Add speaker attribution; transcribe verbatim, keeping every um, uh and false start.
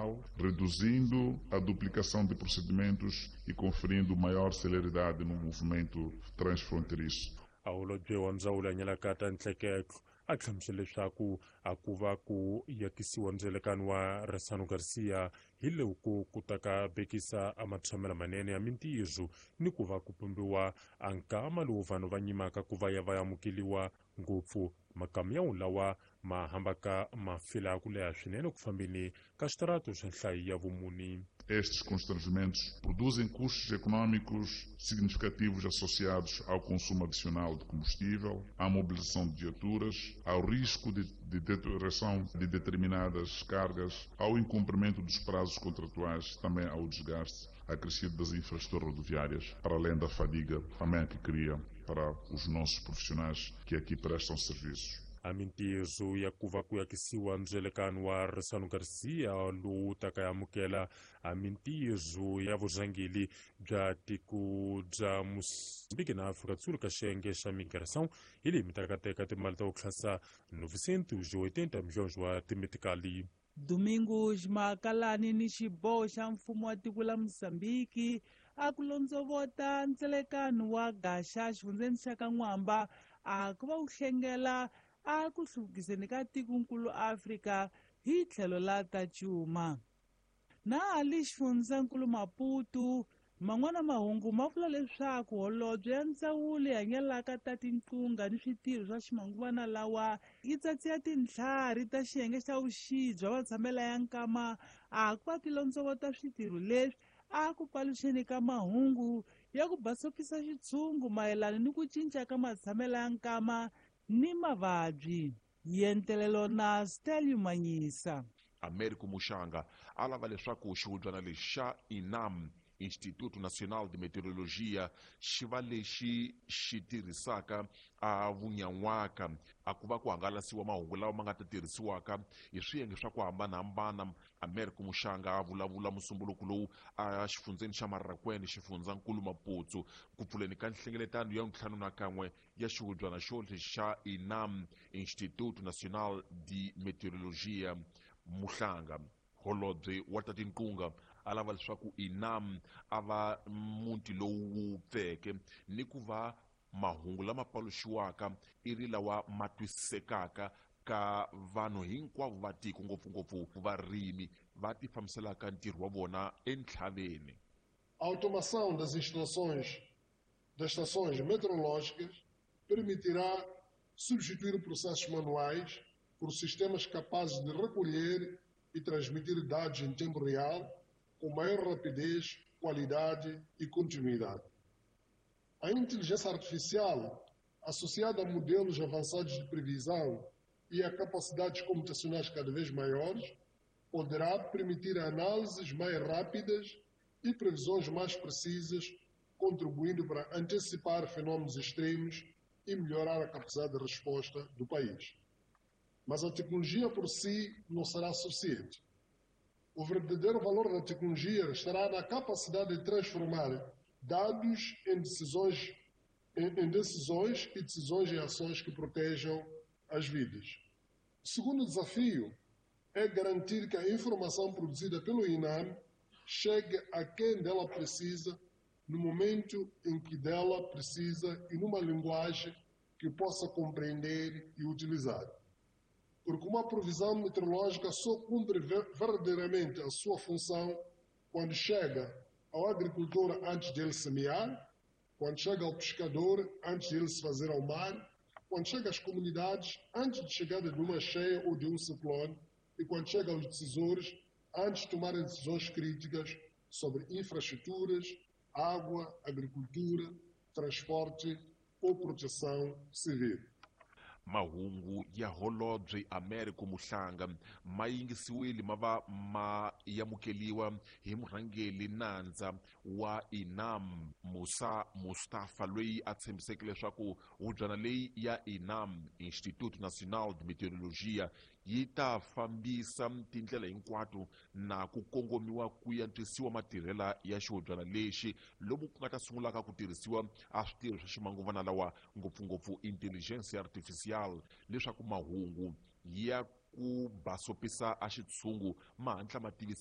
Speaker 1: nacional, reduzindo a duplicação de procedimentos e conferindo maior celeridade no movimento transfronteiriço.
Speaker 2: A holobye wa ndzawulo ya nyalaka ta ntleketlo a hlamusela leswaku a ku va ku yakisiwa ndzelekano wa Ressano Garcia hi loko ku ta ka bekisa a matshamelo manene ya mintirho ni ku va ku pumbiwa a nkama lowu vanhu va nyimaka ku va ya va amukeliwa ngopfu makamu ya lawa ma hambaka ma fila ku leha swinene ku fambeni ka xitarato xa nhlayo ya vumuni.
Speaker 1: Estes constrangimentos produzem custos econômicos significativos associados ao consumo adicional de combustível, à mobilização de viaturas, ao risco de, de deterioração de determinadas cargas, ao incumprimento dos prazos contratuais, também ao desgaste acrescido das infraestruturas rodoviárias, para além da fadiga também que cria para os nossos profissionais que aqui prestam serviços.
Speaker 2: A mintirho ya ku va ku yakisiwa ndzelekano wa Ressano Garcia lowu taka ya amukela a mintirho ya vurhangeri bya tiko bya Mozambique na Afrika Sul ka xiyenge xa migração hi leyi mi taka teka timali ta ku tlhasa novecentos e oitenta milhões wa timetikali.
Speaker 3: Domingos Makalani ni xiboho xa mfumo wa tiko la Mozambique a ku londzovota ndzelekano wa Gaxa xifundzeni xa ka N'wamba a ku va wu hlengela a ku hluvukiseni ka tikonkulu Afrika hi tlhelo la ta cuma. Na ali xifundzankulu Maputo man'wana mahungu ma vula leswaku holobye ya ndzawulo ya nyalaka ta tinqunga ni switirho swa ximanguvana lawa yi tsatsiya tintlhari ta xiyenge xa vuxi bya vatshamela ya nkama a ku va ti londzovota switirho leswi a ku paluxeni ka mahungu ya ku basopisa xitshungu mayelana ni ku cinca ka matshamela ya nkama ni mavabyi. Yentelelo na Stelio Manyisa.
Speaker 4: Américo Muxanga a lava leswaku xihubyana lexi xa INAM, Instituto Nacional de Meteorologia, xi va lexi xi tirhisaka a vunyan'waka a ku va ku hangalasiwa mahungu lawa ma nga ta tirhisiwaka hi swiyenge swa ku hambanahambana. Américo Muxanga a vulavula musumbuluko lowu a xifundzeni xa Marrakwene, xifundzankulu Maputo, ku pfuleni ka nhlengeletano ya ntlhanu na kan'we ya xihubyana xo xa INAM, Instituto Nacional de Meteorologia. Muhlanga holobye wa ta tinqunga a lava leswaku INAM a va muti lowu wu pfeke ni ku va mahungu lama paluxiwaka i ri lawa ma twisisekaka ka vanhu hinkwavo va tiko, ngopfungopfu varimi va ti fambiselaka ntirho wa vona entlhaveni.
Speaker 5: A automação das instalações das estações meteorológicas permitirá substituir processos manuais por sistemas capazes de recolher e transmitir dados em tempo real, com maior rapidez, qualidade e continuidade. A inteligência artificial, associada a modelos avançados de previsão e a capacidades computacionais cada vez maiores, poderá permitir análises mais rápidas e previsões mais precisas, contribuindo para antecipar fenômenos extremos e melhorar a capacidade de resposta do país. Mas a tecnologia por si não será suficiente. O verdadeiro valor da tecnologia estará na capacidade de transformar dados em decisões, em, em decisões e decisões em ações que protejam as vidas. O segundo desafio é garantir que a informação produzida pelo INAM chegue a quem dela precisa, no momento em que dela precisa e numa linguagem que possa compreender e utilizar. Porque uma previsão meteorológica só cumpre verdadeiramente a sua função quando chega ao agricultor antes dele semear, quando chega ao pescador antes dele se fazer ao mar, quando chega às comunidades antes de chegada de uma cheia ou de um ciclone e quando chega aos decisores antes de tomarem decisões críticas sobre infraestruturas, água, agricultura, transporte ou proteção civil.
Speaker 4: Mahungu ya holobye Américo Muhlanga ma yingisiwile ma va ma yamukeliwa hi murhangeri nandza wa INAM Musa Mustafa, loyi a tshembiseke leswaku hubyana leyi ya INAM, Instituto Nacional de Meteorologia, yi ta fambisa tindlela hinkwato na ku kongomiwa ku antswisiwa matirhela ya xihubyana lexi lomu ku nga ta sungulaka ku tirhisiwa a switirho swa ximanguvana lawa, ngopfungopfu intelligence artificial, leswaku mahungu ya ku basopisa a xitshungu ma hatla ma tivisiwa.